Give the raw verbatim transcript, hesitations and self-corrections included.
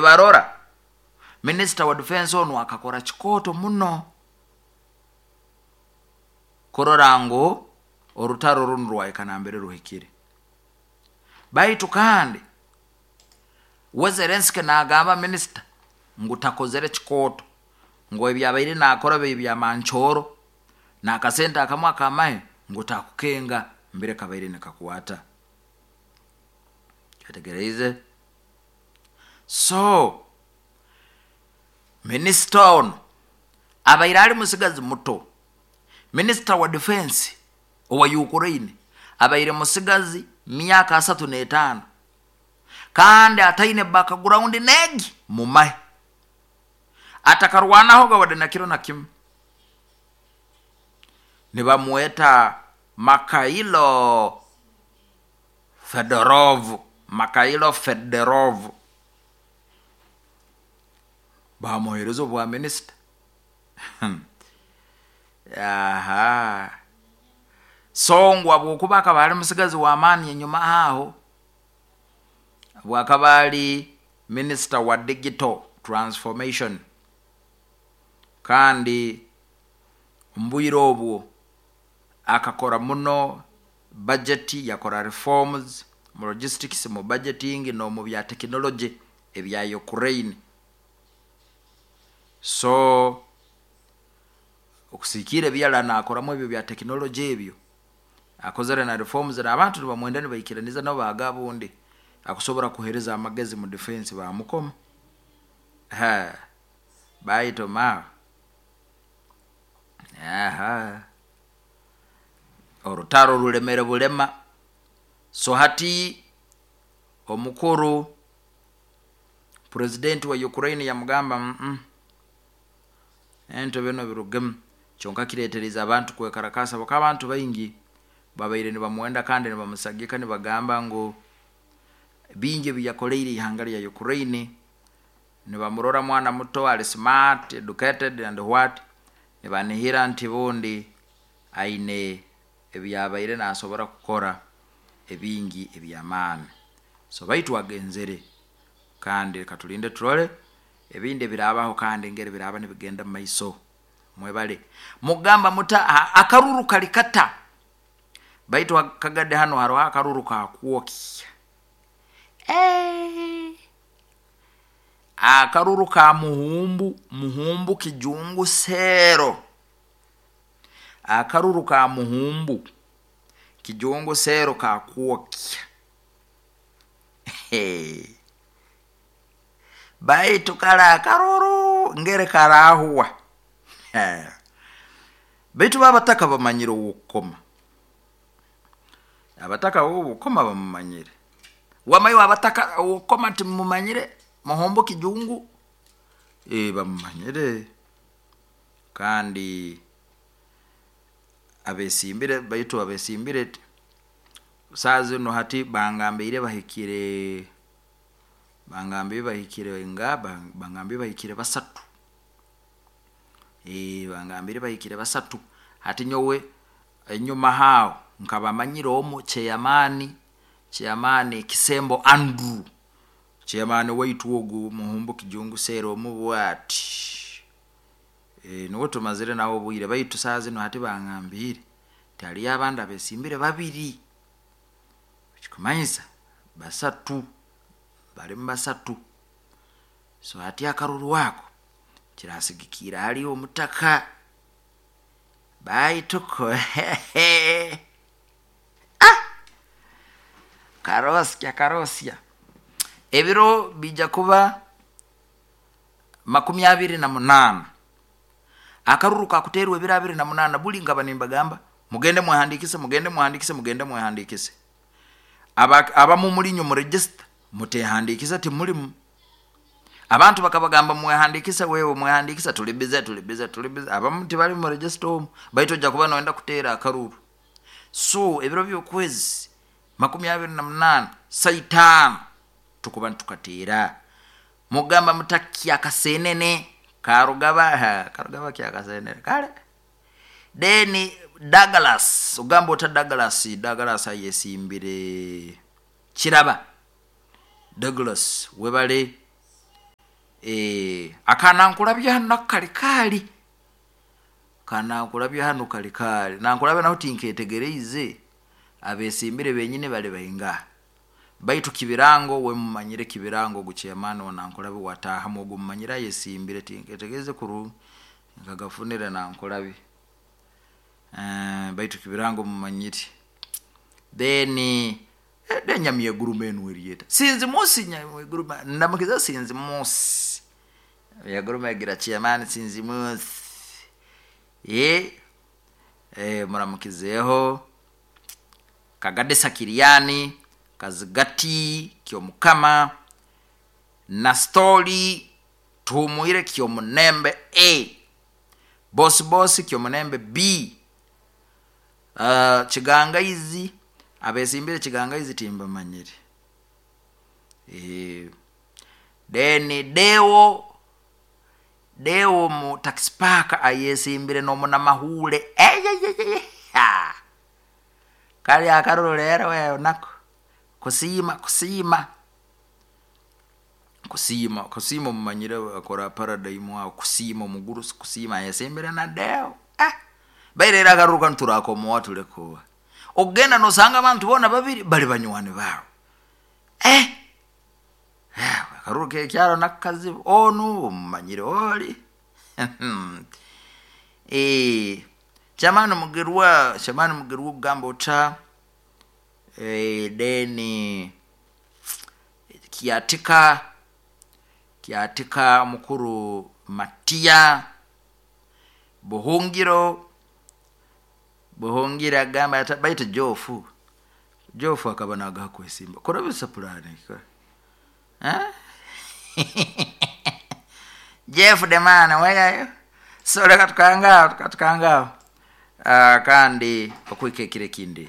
Barora minisita wa defense onu akakora kikooto muno kurora ngu orutaro runu rwahika nambere ruhikire. Baitu kandi we Zelenski nagamba minisita ngu takozere kikooto, ngu ebyabaire nakora biba byamancooro, n'akasente akamu akamahe ngu takukenga mbere kabaire nikakwata. Kyetegereize? So minisita onu abaire ali musigazi muto, minisita wa defense owa Ukraine abaire musigazi, myaka asatu n'etaano, kandi ataine background negi mumahe, atakarwanahoga wadde na kiro na kimu. Nibamweta Makailo Fedorov. Makailo Fedorov bamuhereza obwa minisita. Aha, so ngu habwokuba akaba ali musigazi w'amaani, enyuma aho bwakaba ali minisita wa digital transformation, kandi omu bwire obwo akakora muno budget, yakora reforms mu logistics, mu budgeting, n'omu bya technology ebya Ukraine. So okusikiira ebyala nakoramu ebyo bya technology, ebyo akozere na reforms, n'abantu nibamwenda, nibaikiraniza nabo, baga bundi akusobora kuhereza amagezi mu defense. Bamukoma ha baitoma. Aha, orutaro rulemere bulema. So hati omukuru president wa Ukraine yamugamba, mm -mm. Ento bino birugemu." Kyonka kiretereza abantu kwekarakasa, baka abantu baingi babaire nibamwenda kandi nibamusagika, nibagamba ngu bingi ebiyakoleire ihanga lya Ukraine. Nibamurora mwana muto, ali smart, educated and what, nibanihira nti bundi aine ebyabaire nasobora kukora ebingi ebyamaani. So baitu agenzere, kandi reka tulinde turole ebindi ebirabaho kandi engeri biraba nibigenda mu maiso. Mwebale. Mugamba muta akaruru kali kata? Baitu kagadde hano haroho akaruru kakwokya. Eh, akaruru ka muhumbu muhumbu kijungu seero, akaruru ka muhumbu kijungu seero kakwokya. Baitu kale akaruru ngere karahuwa, baitu babataka bamanyire owokukoma. Abataka owokukoma bamumanyire. Wamayo abataka owokukoma timumanyire muhumbu kijungu? E, bamumanyire kandi abesimbire. Baitu abesimbire saa zinu hati bangambiire bahikire bangambiire bahikire nga bangambiire bahikire basatu. E, bangambire bahikire basatu. Hati nyowe enyuma haaho nkaba manyire omu, chairman chairman Kisembo Andrew, chairman waitu ogu muhumbu kijungu seero omu bwati. E, nuwe tumazire nawe obwire. Baitu saa zinu hati bangambiire nti haliyo abandi abesimbire babiri, ekikumanyisa basatu, balimu basatu. So hati akaruru ako kirasigikiira hali omutaka. Baituko ah! Karosya karosya, ebiro bijja kuba makumi abiri na munaana. Akaruru kakuterwa ebiro abiri na munaana. Buli nkaba nimbagamba, mugende mwehandikise, mugende mwehandikise, mugende mwehandikise. Abamu mulinywe mu register, mutehandikise, timulimu. Abantu bakabagamba, mwehandikise, wewe mwehandikisa, tuli busy, tuli busy, tuli busy. Abamu tibali mu register omu, baitu ojja kuba noyenda kuteera akaruru. So ebiro by'okwezi makumi abiri na munaana saitaano tukuba nitukateera. Mugamba mutakya akasenene karugaba? Karugaba kyakasenene kale. Then Douglas, ogamba ota Douglas? Douglas ayesimbire kiraba. Douglas, webale. Eh, akanankulabya hanu nakali kali kanankulabya hanu kali kali nankulabya naho tinketegereize abesimbire benyini bali baingaha baitu kibirango we mumanyire kibirango ogu chairman wa Nankulabye wataahamu ogu mumanyire ayesimbire tinketegereze kurungi nkagafunire Nankulabye uh, baitu kibirango mumanyire. Then enyamyeguruma enu eryeta sinzi musi nyamweguruma ndamukiza sinzi musi yaguruma egira chairman sinzi musi ye eh, muramukizeho Kagadesa Kiriani Kazigati Kyomukama na Stori Tuhumuire Kyomunembe A Bosi Bosi Kyomunembe B uh, Kigangaizi abesimbire Kigangaizi timbamanyire eh then Deo Deo mu taxi park ayesimbire n'omunamahule eyeyeye kali akaruru rero wewe nako kusiima kusiima kusiima kusiima mumanyire akora paradigm aho kusiima omugurusi kusiima ayesimbire na Deo ah bairera akaruru kanu turakomoa tulekuwa ogenda nosanga abantu bona babiri bali banywani bawe eh akaruru kekyaro nakazibu onu omumanyire oli eh chamani mugerwa chamani mugerwa kugamba ota eh deni kiatika kiatika mukuru Matia Buhungiro Buhungira agamba baitu Jofu Jofu akaba nagaha kwesimba korabisa pulani eh Jeff the man weyayo so reka tukangao tukangao uh, kandi okwikekire kindi.